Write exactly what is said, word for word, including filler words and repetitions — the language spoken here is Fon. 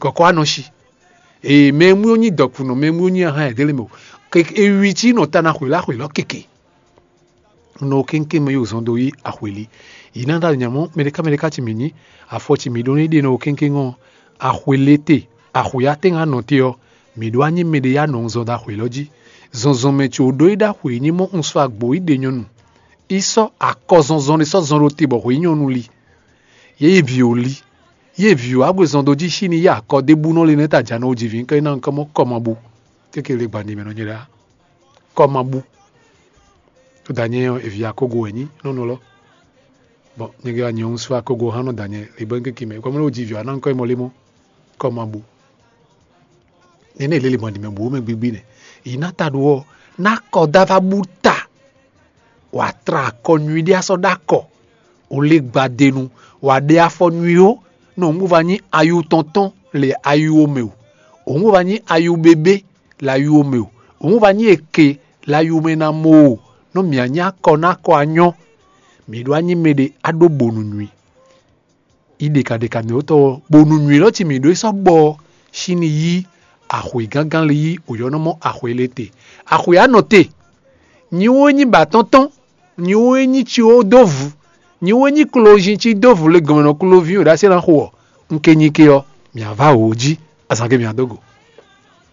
Kɔkɔ anɔ shi. Ee, mɛ e mú yó nyí dɔkun nɔ, mɛ e mú yó nyí ahan ɛdɛlɛ mɛ o. Ke ewi cí nɔ ta na xwě lá xwě lɔ keke. Nɔ kéŋkéŋ mɛ yóò zɔn dó yí axwěli. Yi ná ɖa nyamɔ mɛɖeká mɛɖeká ci mǐ nyí, afɔ ci mǐ ɖó ní ɖe nɔ kéŋkéŋ ɔ́, axwě lé te, axwě atɛ́nga nɔ te ɔ́, mǐ ɖó anyí mɛɖé yá nɔ zɔn dó axwě lɔ jí. Zɔnzɔnmɛ ce ò ɖó yi ɖó axwě nyí mɔ un sɔ́ agbo yi ɖe nyɔnu. Yi sɔ́ akɔ zɔnzɔn ɖé sɔ́ zɔn ɖó te bɔ xwě nyɔnu li. Yě yi vǐ ò li. Yě vǐ ò agbo zɔn dó jí sí ni yá akɔ ɖébú nɔ le nɛ́ ta jǎ nɔ jí vǐ kɛ ná nukɔn mɔ kɔ ma bu. Kékele gban ɖi mɛ nɔ nyɛ ɖá. Kɔ ma bu. Tó da nyɛ ɔ́, evi akógo wɛ nyí nɔnɔ lɔ. Bɔn nyɛ gɛ wá nyɛ ɔ́ sú akógo hán nɔ da nyɛ le bɔ kéke mɛ kɔmɔ lɛ wò jí vǐ wá ná nukɔn mɔ lé mɔ. Kɔ ma bu. Nɛnɛ lele mɔ ɖi mɛ bu mɛ gbigbi nɛ. Yi ná ta ɖo ɔ́, ná kɔ dá va bú ta. Wǎ tra akɔ nyui ɖé asɔ ɖó akɔ. O lé gbadenu, wǎ ɖe afɔ nyui ó, nɔ òun bó va nyí ayu tɔntɔn le ayu o mɛ o. Òun bó va nyí ayu bébé le ayu o mɛ o. Òun bó va nyí eke le ayu mɛ ná mɔ o. Nɔ mǐ anyí akɔ ná akɔ anyɔ. Mǐ ɖó anyí mɛ ɖé aɖó bonu nyui. Yi ɖeka ɖeka mǐ wótɔ ɔ́, bonu nyui lɔ ci mǐ ɖó sɔ́ gbɔ ɔ́, sín ní yí axwe gángan lé yí òyɔ́nɔmɔ axwe lé te. Axwe anɔ te. Nyi wó nyí ba tɔ́ntɔ́n, nyi wó nyí ci wó dó vǔ, nyi wó nyí klozinci dó vǔ le gɔmɛ nɔ kloví wǒ ɖó así ná xo ɔ́, un ke nyi ke ɔ́, mǐ á vá wǒ jí, azǎn ke mǐ á dó go.